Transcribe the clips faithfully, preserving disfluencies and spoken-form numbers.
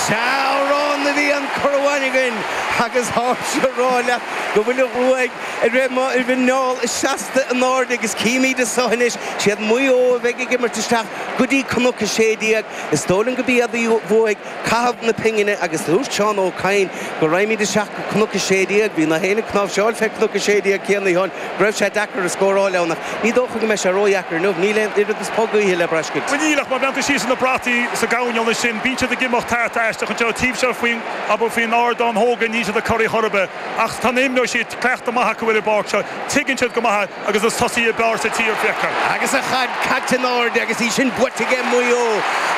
Sea, amhrán a bhí an cur amháin againn agus táimse ag rá leat go bhfuil an ghruaig ar mo mhuineál seasta in airde agus címid anseo anois, siad Maigh Eo a bheidh ag imirt isteach go dtí Cnoc a sé déag. Is dóigh liom go b'iad a bhuaigh caitheamh na pingine agus dúirt Seán Ó Cadhain go raghaimid isteach go Cnoc a sé déag. Bhí na héinne cnáimhseáil fé Cnoc a sé déag céanna a Sheáin go raibh sé deacair a scóráil ann ach ní dócha go mbeidh sé ródheacair inniu. Níl aon oiread is pog gaoithe le braiscint. Bhuel níl ach má bhreathnaíonn tú síos ar na brataí sa gcoirnéal ansin bíonn siad ag imeacht thart aisteach anseo taobh seo faoin abair faoin ardán thóga níl siad ag corraí chor ar bith ach tá na imreoirí siad cleachta maith acu ar an bpáirc seo tuigeann siad go maith agus is tosaithe ab fhearr sa tír féacha. Agus an chaid caite in airde agus í sin buailte aige Maigh Eo.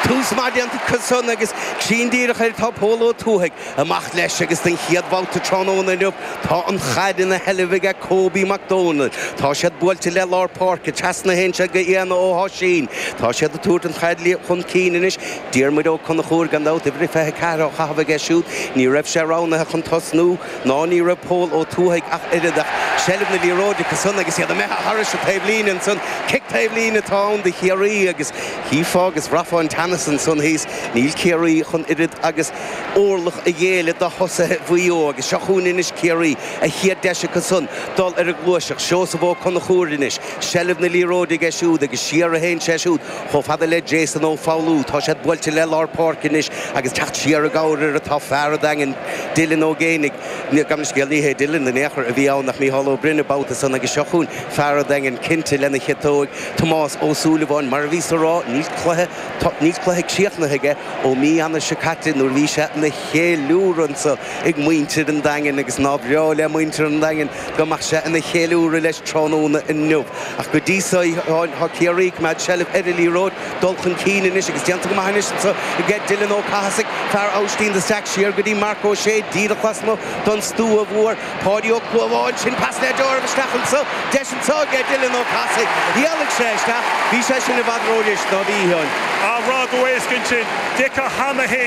Tús maith déanta acu san agus cruinn díreach air tá Pól Ó Tuathaigh amach leis agus den chéad bhabhta tráthnóna inniu tá an chaid ina sheilbh aige Kobe McDonald. Tá siad buailte le lár páirce trasna théann sé go Éanna Ó hOisín. Tá siad ag tabhairt an chaid chun cinn anois Diarmuid Ó Conchúir gan dabht uimhir fiche ceathair á chaitheamh aige siúd, ní raibh sé roghnaithe chun tosnú ná ní raibh Pól Ó Tuathaigh ach oiread ach seilbh na liathróide acu san agus iad imithe thairis an taobhlíne ansan cic taobhlíne atá ann do Chiarraí agus chífeá agus bhraithfeá an teannas ansan thíos níl Ciarraí chun oiread agus orlach a ghéilleadh do thosaithe Mhaigh Eo agus seo chugainn anois Ciarraí a chéad deis acu san dul ar an ghluaiseacht Seosamh Ó Conchúir anois seilbh na liathróide aige siúd agus siar a théann sé siúd chomh fada le Jason Ó Foghlú tá siad buailte le lár páirce anois agus teacht siar i gcabhair air atá fear an Daingin Dylan Ó Géinigh gan scéal ní hé Dylan in aon chor a bhí ann ach Mícheál Ó Broin babhta san agus seo chugainn fear an Daingin cinnte lena chiotóig Tomás Ó Súilleabháin mar a bhí sa rá níl cluiche níl cluiche críochnaithe aige ó mí Eanáir seo caite nuair bhí sé ina cheiliúradh anseo ag muintir an Daingin agus ná breá le muintir an Daingin go mbeadh sé ina cheiliúradh leis tráthnóna inniu ach go dtí so tá Ciarraí ag coimeád seilbh ar an liathróid dul chun cinn anois agus déanta go maith anois anseo aige Dylan Ó Cathasaigh fear Aibhistín de Staic siar go dtí Marc Ó Sé díreach lasmuigh don stua mhór Páidí Ó Clúmháin sin pas le deáramh isteach anseo deis anseo aige Dylan Ó Cathasaigh Dhéalaigh sé isteach bhí sé sin i bhfad ródheis ná bhí ann. A rá go éasca sin de cheana féin.